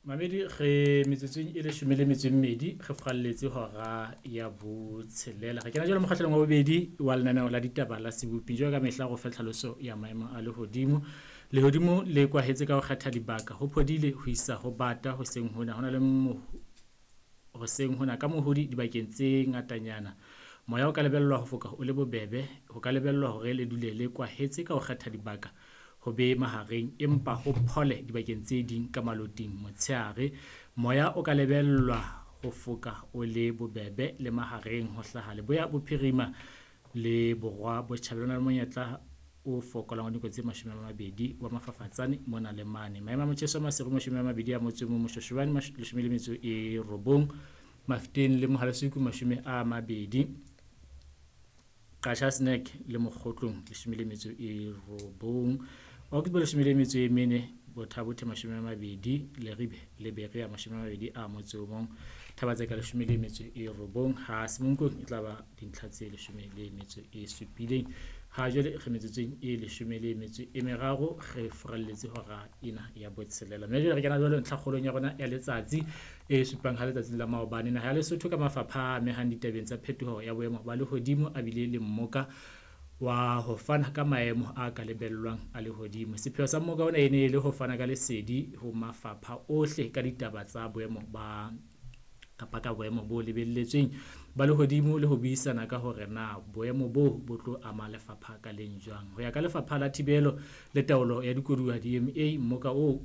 Mamedi re metsotsong e 12 re furalletse hora ya botshelela. Re kena jwale mokgahlelong wa bobedi wa lenaneo la ditaba la Sebopi. Jwalo ka mehla go fe tlhaloso ya maemo a lehodimo. Lehodimo le kwahetse ka ho kgetha dibaka. Ho phodile ho isa ho bata hoseng hona. Ho na le hoseng hona ka mohodi dibakeng tse ngatanyana. Moya o ka lebellwa ho foka o le bobebe. Ho ka lebellwa hore le dule le kwahetse ka ho kgetha dibaka ho be mahareng empa ho phole dibakeng tse ding ka maloting motshehare. Moya o ka lebellwa ho foka o le bobebe le mahareng ho hlaha leboya bophirima le borwa botjhabela. Ho na le monyetla o fokolang wa dinako tse 20 wa mafafatsane mona le mane. Maemo a motjheso Maseru 21, Moshoshobane 19, Mafeteng le Mohale'shoek 20, Qacha's Nek le Mokgotlong 19, Augsburg 14, Botha-Bothe 20, Leribe le Berea 21, Thaba-Tseka 19, ha Semonkong e tla ba dintlha tse 17. Ha jwale re metsotsong e 13 re furalletse hora ena ya botshelela. Mme jwale re kena jwale ntlhakgolong ya rona ya letsatsi e supang ha letsatsing la maobane. Naha ya Lesotho ka mafapha a amehang ditabeng tsa phetoho ya boemo ba lehodimo a bile le mmoka wa ho fana ka maemo a ka lebellwang a lehodimo. Sepheo sa mmoka ona e ne e le ho fana ka lesedi ho mafapha ohle ka ditaba tsa boemo ba kapa ka boemo bo lebelletsweng ba lehodimo le ho buisana ka hore na boemo bo bo tlo ama lefapha ka leng jwang. Ho ya ka lefapha la thibelo le taolo ya dikoduwa DMA, mmoka oo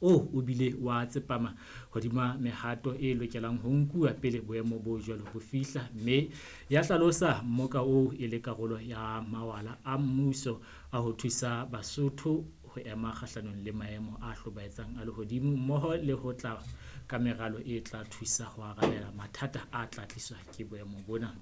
o bile wa tsepama hodima mehato e lokelang ho nkuwa pele boemo bo jwalo bo fihla, mme ya hlalosa mmoka oo e le karolo ya mawala a mmuso a ho thusa Basotho ho ema kgahlanong le maemo a hlobaetsang a lehodimo mmoho le ho tla ka meralo e tla thusa ho arabela mathata a tla tliswa ke boemo bona.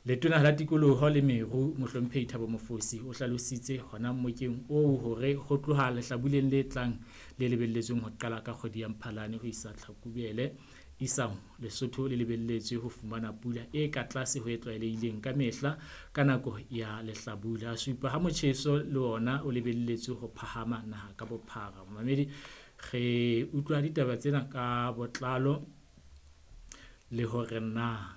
Letona la Tikoloho le Meru, Mohlomphehi Thabo Mofosi, o hlalositse hona mmokeng oo hore ho tloha lehlabuleng le tlang le lebelletsweng ho qala ka kgwedi ya Mphalane ho isa Tlhakubele, isang Lesotho le lebelletswe ho fumana pula e ka tlase ho e tlwaelehileng ka mehla ka nako ya lehlabula. A supa ha motjheso le ona o lebelletswe ho phahama naha ka bophara. Mamedi, re utlwa ditaba tsena ka botlalo le hore na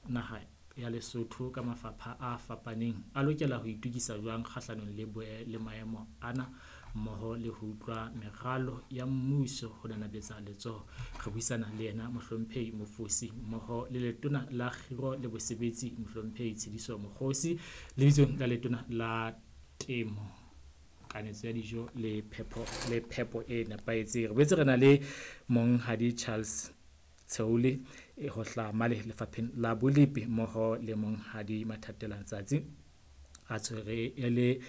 naha ya Lesotho ka mafapha a fapaneng a lokela ho itokisa jwang kgahlanong le maemo ana mmoho le ho utlwa meralo ya mmuso ho nanabetsa letsoho. Re buisana le yena Mohlomphehi Mofosi mmoho le letona la Kgiro le Bosebetsi Mohlomphehi Tshediso Mokgosi, lebitsong la letona la Temo, Kanetso ya dijo le phepo e nepahetseng. Re boetse re na le Monghadi Charles Tsheole ho hlaha male lefapheng la Bolepi mmoho le Monghadi Mathatela Ntsatsi a tshwere e le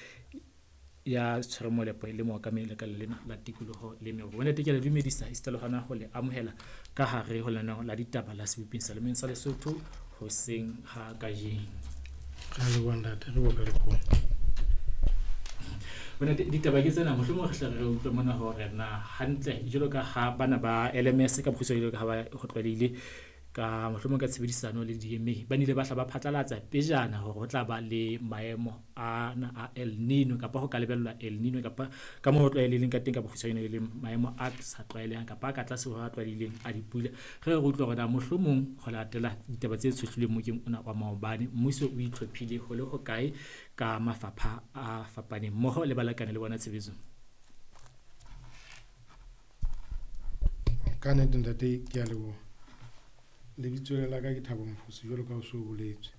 ya tshwere molepo le mookamedi lekaleng lena la tikoloho le meru. Bontate, ke a le dumedisa esita le hona ho le amohela ka hare ho lenaneo la ditaba la Seboping sa Lemeng sa Lesotho hoseng ha kajeno. Re a leboha ntate, re boka lekgolo. Bontate, ditaba ke tsena, mohlomong re hle re utlwe mona hore na hantle jwalo ka ha bana ba LMS ka bokgutshwane jwalo ka ha ba ho tlwaelehile ka mohlomong ka tshebedisano le DMA ba nile ba hla ba phatlalatsa pejana hore ho tla ba le maemo ana a El Nino kapa ho ka lebellwa El Nino kapa ka moo ho tlwaelehileng ka teng ka bokgutshwane e leng maemo a sa tlwaelehang kapa a ka tlase ho a tlwaelehileng a dipula. Re re utlwe hore na mohlomong ho latela ditaba tse tshohlilweng mokeng ona wa maobane mmuso o itlhophile ho le hokae ka mafapha a fapaneng mmoho le balekane le bona tshebetsong. Ka nnete ntate, ke a leboha. Lebitso la ka ke Thabo Mofosi jwalo ka o so boletswe.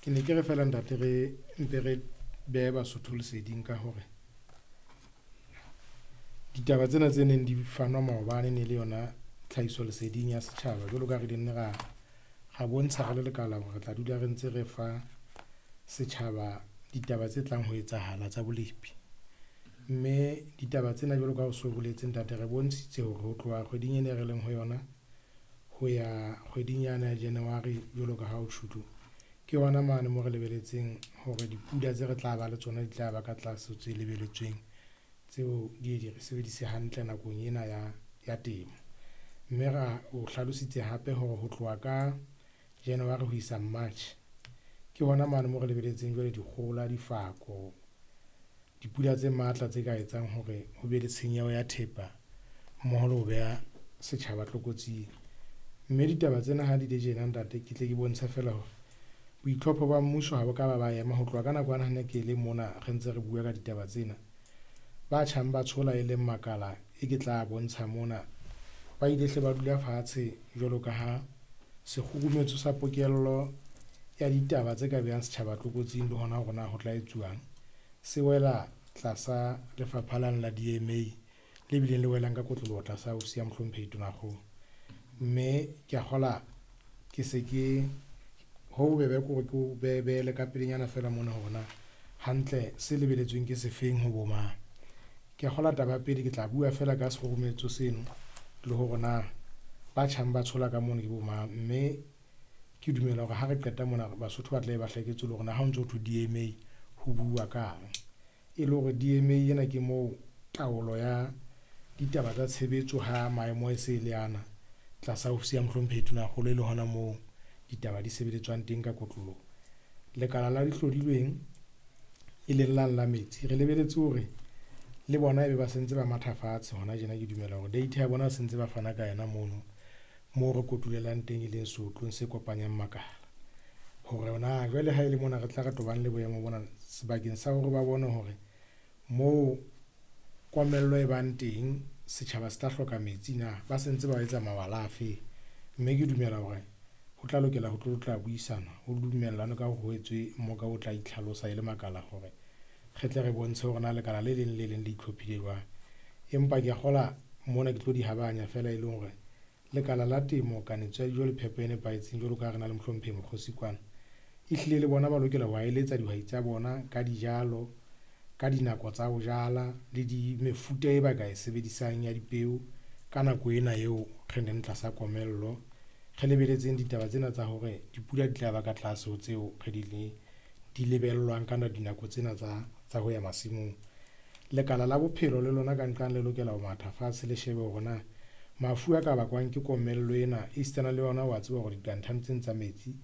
Ke ne ke re fela ntate re mpe re behe Basotho leseding ka hore ditaba tsena tse neng di fanwa maobane ne le yona tlhahiso leseding ya setjhaba jwalo ka re di nne ra bontsha re le lekala hore re tla dula re ntse re fa setjhaba ditaba tse tlang ho etsahala tsa bolepi. Mme ditaba tsena jwalo ka o so boletse ntate, re bontshitse hore ho tloha kgweding ena e re leng ho yona ho ya kgweding yana ya January jwalo ka ha o tjhulo, ke hona mane mo re lebeletseng hore dipula tse re tla ba le tsona di tla ba ka tlase tse lebeletsweng tseo di re sebedise hantle nakong ena ya temo. Mme ra o hlalositse hape hore ho tloha ka January ho isa March ke hona mane mo re lebeletseng jwale dikgohola, difako, Dipula tse matla tse ka etsang hore ho be le tshenyeho ya thepa mmoho le ho beha setjhaba tlokotsing. Mme ditaba tsena ha di le tjena ntate, ke tle ke bontshe feela hore boitlhopho ba mmuso ha bo ka ba ba ema ho tloha ka nako yane ha ne ke le mona re ntse re bua ka ditaba tsena. Ba tjhang ba tshola e leng makala e ke tla bontsha mona, ba ile hle ba dula fatshe jwalo ka ha sekgurumetso sa pokello ya ditaba tse ka behang setjhaba tlokotsing le hona hore na ho tla etsuwang, se wela tlasa lefapha lane la DMA le bileng le welang ka kotloloho tlasa ofisi ya Mohlomphehi Tonakgolo. Mme ke a kgola ke se ke ho bobebe ke hore ke o behele ka pelenyana feela mona hore na hantle se lebeletsweng ke sefeng ho bo mang. Ke a kgola taba ya pele ke tla bua feela ka sekgurumetso seno le hore na ba tjhang ba tshola ka mono ke bo mang, mme ke dumela hore ha re qeta mona Basotho ba tla be ba hlaketswe le hore na ha o ntso thwe DMA ho bua kang. E le hore DMA ena ke moo taolo ya ditaba tsa tshebetso ha maemo e se le ana tlasa ofisi ya Mohlomphehi Tonakgolo e le hona moo ditaba di sebeletswang teng ka kotloloho. Lekala la dihlodilweng e leng lane la metsi, re lebeletse hore le bona ebe ba sentse ba matha fatshe hona tjena. Ke dumela hore data ya bona se ntse ba fana ka yona mono moo re kotulelang teng e leng seotlong se kopanyang makala. Hore na jwale ha e le mona re tla re tobane le boemo bona sebakeng sa hore ba bone hore moo komello e bang teng setjhaba se tla hloka metsi na, ba se ntse ba etsa mawala afe. Mme ke dumela hore ho tla lokela ho tlo tla buisana ho dumellane ka hore ho etswe moka o tla itlhalosa e le makala hore re tle re bontshe hore na lekala le leng le leng le itlhophile jwang. Empa ke a kgola mona ke tlo di habanya feela e leng hore lekala la temo, kanetso ya dijo le phepo e nepahetseng jwalo ka ha re na le Mohlomphehi Mokgosi kwana, ehlile le bona ba lokela ho eletsa dihwai tsa bona ka dijalo, ka dinako tsa ho jala le di mefuta e ba ka e sebedisang ya dipeo ka nako ena eo re leng tlasa komello. Re lebeletseng ditaba tsena tsa hore dipula di tla ba ka tlase ho tseo re di lebellwang ka dinako tsena tsa ho ya masimong. Lekala la bophelo le lona ka nqane le lokela ho matha fatshe le shebe hore na mafu a ka bakwang ke komello ena esitana le yona wa tseba hore diqanthane tsena tsa metsi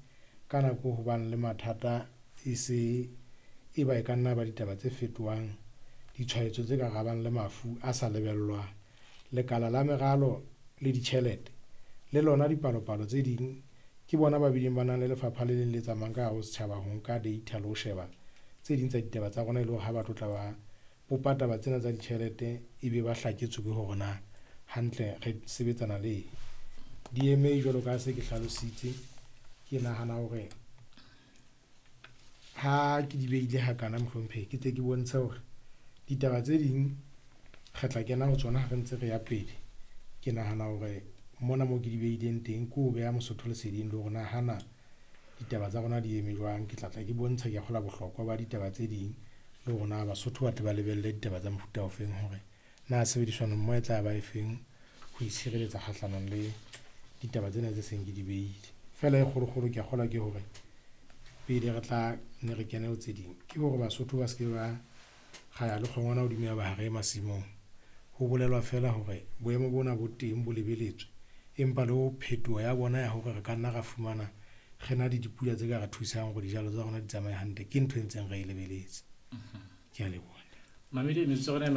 ka nako ho bang le mathata e se e ba e ka nna ba ditaba tse fetohang ditshwaetso tse ka rabang le mafu a sa lebellwang. Lekala la meralo le ditjhelete le lona dipalopalo tse ding ke bona ba bileng ba nang le lefapha le leng le tsamayang ka hare ho setjhaba ho nka data le ho sheba tse ding tsa ditaba tsa rona e le hore ha ba tlo tla ba bopa taba tsena tsa ditjhelete ebe ba hlaketswe ke hore na hantle re sebetsana le eng. DMA jwalo ka se ke hlalositse, ke nahana hore ha ke di behile hakana Mohlomphehi, ke tle ke bontshe hore ditaba tse ding re tla kena ho tsona ha re ntse re ya pele. Ke nahana hore mona moo ke di behileng teng ke ho beha Mosotho leseding le hore na hana ditaba tsa rona di eme jwang. Ke tla tla ke bontsha ke kgola bohlokwa ba ditaba tse ding le hore na Basotho ba tle ba lebelle ditaba tsa mofuta ofeng hore na tshebedisano mmoho e tla ba efeng ho itshireletsa kgahlanong le ditaba tsena tse seng ke di behile. Feela e kgolokgolo ke a kgolwa ke hore pele re tla ne re kene ho tse ding ke hore Basotho ba se ke ba ra ya le kgongwana hodimo ya ba ha re ye masimong. Ho bolelwa feela hore boemo bona bo teng bo lebeletswe, empa le ho phetoho ya bona ya hore re ka nna ra fumana re na le dipula tse ka re thusang hore dijalo tsa rona di tsamaye hantle ke ntho e ntseng re e lebeletse. Ke a leboha. Mamedi metsotso ya rona e